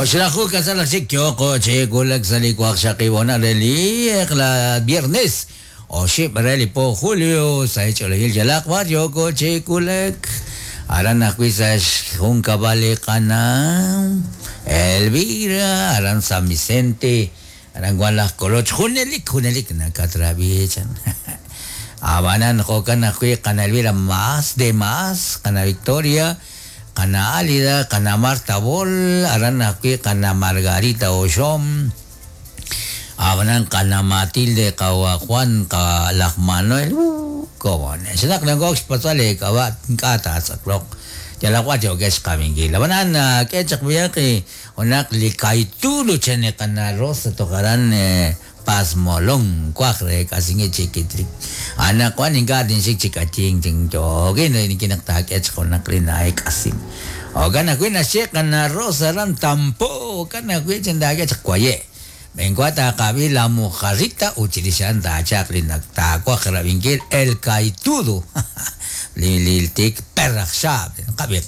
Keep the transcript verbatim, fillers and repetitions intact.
Oxlaju kasalaq chik yooqo chi wulak sa' li waqxaqib' honal re li eq'la viernes oxib' re li po julio sa' xch'oolejil yalaq b'ar yooko chi wulak aran ajwi' sa' xjunkab'al li qana' Elvira aran San Vicente aran wan laj Koloch junelik junelik nakatrab'i chan Abanan jo'kan ajwi' qana Elvira más de más qana Victoria qana Álida qana Marta Bol aran ajwi' qana Margarita Oxom abanan qana Matilde qawa Juan qa laj Manuel uh, cómo no xnaq nangok xpatz'al k'ab'a' ink'a' taatz'aqloq yalaq b'ar yo'kex xqab'inkil abanan k'e chaq b'iyaq junaq li kaytulo chan li qana Rosa toj aran Pasmolón kuaj re k'asingi chikitrik anaqwan ink'a' tinxik chi k'ayink chin yoogin nikinaq taak'e chaq junaq li naek'asin jo'kan ajwi' naxye qana Rosa aran Tampo jo'kan ajwi' chin taak'e chaq kuaye' Benkua taqab'i la mojarrita ut chirix a'an taachaq li taakuaj rab'inkil el kaitudo li li tik perraj xaab' qab'i.